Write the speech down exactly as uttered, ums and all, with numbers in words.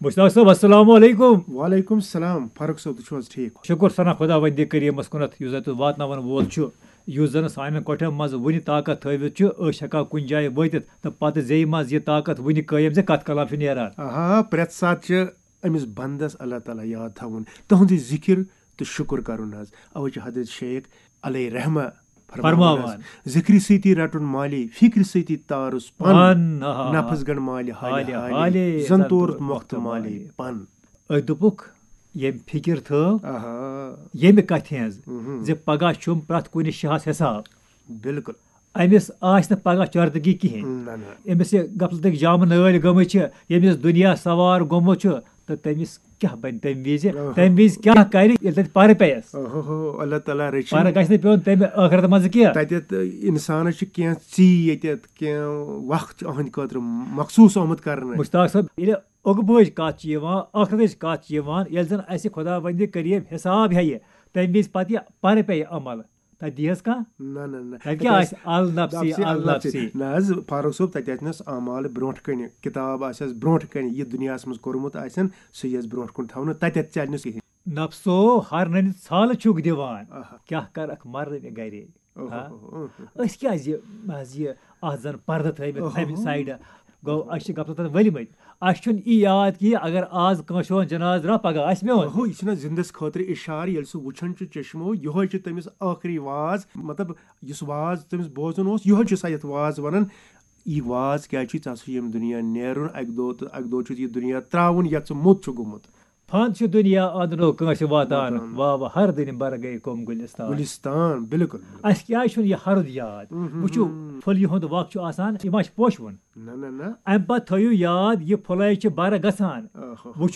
مشتاق صٲب، السلام علیکم۔ وعلیکم السلام، فاروق صٲب، تُہۍ چھِو حظ ٹھیٖک؟ شُکُر ثنا خۄداوندِ کریٖمس کُنتھ، یُس زن تُہۍ واتناوان وول چھُ، یُس زن سانٮ۪ن کۄٹھٮ۪ن منٛز وُنہِ طاقت تھٲوِتھ چھُ، أسۍ ہٮ۪کو کُنہِ جایہِ وٲتِتھ تہٕ پتہٕ زیٚیہِ منٛز یہِ طاقت وُنہِ قٲیِم زِ کتھ کلام چھُ نیران۔ آہا، پرٛٮ۪تھ ساتہٕ چھِ أمِس بندس اللہ تعالیٰ یاد تھاوُن، تُہنٛدٕے ذِکِر تہٕ شُکُر کرُن حظ۔ اوے چھِ حضرت شیخ علیہ رحمہ فرماوان فرماوان۔ حظ، ذِکرِ سۭتی رٹُن مالی، فِکرِ سۭتی تارُس پن، پن، آہا۔ نفس گن مالہِ حالہِ حالہِ حالہِ، حالہِ، زن زن تورُت تورُت مۄختہٕ مۄختہٕ مالہِ مالہِ۔ پن۔ أسۍ دوٚپُکھ، ییٚمہِ فِکِر تھٲو، آہا، ییٚمہِ کتھِ ہٕنٛز، مہم۔ زِ پگاہ چھُم پرٛٮ۪تھ کُنہِ شاہس حساب۔ بِلکُل۔ أمِس آسہِ نہٕ پگاہ چردگی کِہیٖنۍ۔ نہ نہ۔ أمِس یہِ غفلتٕکۍ جامہٕ نٲلۍ گٔمٕتۍ چھِ، ییٚمِس دُنیا سوار گوٚمُت چھُ، تہٕ تٔمِس کیٛاہ بنہِ تَمہِ وِزِ؟ اوہو۔ تَمہِ وِزِ کیٛاہ کَرِ ییٚلہِ تَتہِ پَرٕ پیٚیَس؟ اوہو، اللہ تعالیٰ رٔچھِن۔ پَرٕ گژھِ نہٕ پیوٚن تَمہِ ٲخرت منٛز کینٛہہ۔ تَتٮ۪تھ اِنسانَس چھِ کینٛہہ ژی ییٚتٮ۪تھ، کینٛہہ وقت چھُ أہٕنٛدِ خٲطرٕ مخصوٗص آمُت کرنہٕ۔ مشتاق صٲب، ییٚلہِ عقبٕچ کَتھ چھِ یِوان، ٲخرتٕچ کَتھ چھِ یِوان، ییٚلہِ زَن اَسہِ خۄداوندِ کریٖم حساب ہیٚیہِ، تَمہِ وِزِ پَتہٕ یہِ پَرٕ پیٚیہِ عمل، تَتہِ دِیَس کانٛہہ؟ نہ نہ نہ۔ تَتہِ کیٛاہ آسہِ؟ النفسی، النفسی۔ نہ حظ فاروق صٲب، تَتہِ آسہِ نَس اعمال برونٛٹھ کَنہِ، کِتاب آسٮ۪س برونٛٹھ کَنہِ، یہِ دُنیاہَس منٛز کوٚرمُت آسٮ۪ن، سُہ یِیَس برونٛٹھ کُن تھاونہٕ، تَتٮ۪تھ چَلہِ نہٕ کِہیٖنۍ۔ نفسو ہرننہِ ژھالہٕ چھُکھ دِوان۔ آہا۔ کیٛاہ کَرَکھ مَرنہٕ گَرے؟ اوہو، ہا؟ اوہو۔ أسۍ کیٛازِ، حظ یہِ، آز زَن پَردٕ تھٲومٕتۍ اوہو۔ اَمہِ سایڈٕ؟ گوٚو، أسۍ چھِ غفلتَن ؤلۍ مٕتۍ۔ اَسہِ چھُنہٕ یی یاد کہِ اگر آز کٲنٛسہِ ہُنٛد جنازٕ درٛاو، پَگاہ آسہِ میون۔ اوہو، یہِ چھُنہ زِندَس خٲطرٕ اِشارٕ، ییٚلہِ سُہ وٕچھان چھُ چشمو، یِہوٚے چھُ تٔمِس ٲخری واز، مطلب، یُس واز تٔمِس بوزُن اوس، یِہوٚے چھُ سا یَتھ واز وَنان۔ یہِ واز کیٛازِ چھُے؟ ژےٚ ہسا چھُ ییٚمہِ دُنیا نیرُن اَکہِ دۄہ، تہٕ اَکہِ دۄہ چھُ یہِ دُنیا ترٛاوُن، یَتھ ژٕ موٚت چھُ گوٚمُت۔ فن چھُ دُنیا اَندنو کٲنٛسہِ واتان، واتان۔ واہ واہ، ہر دِنہِ بَرٕ گٔے کُم گُلِستان۔ گُلِستان، بِلکُل، بِلکُل۔ اَسہِ کیٛازِ چھُنہٕ یہِ ہرُد یاد؟ مہم۔ وٕچھِو، پھُلیہِ ہُنٛد وق چھُ آسان، یہِ ما چھُ پوشہٕ وُن؟ نہ، نہ، نہ۔ اَمہِ پَتہٕ تھٲیِو یاد، یہِ پھُلے چھِ بَرٕ گژھان۔ اوہو۔ وٕچھِو،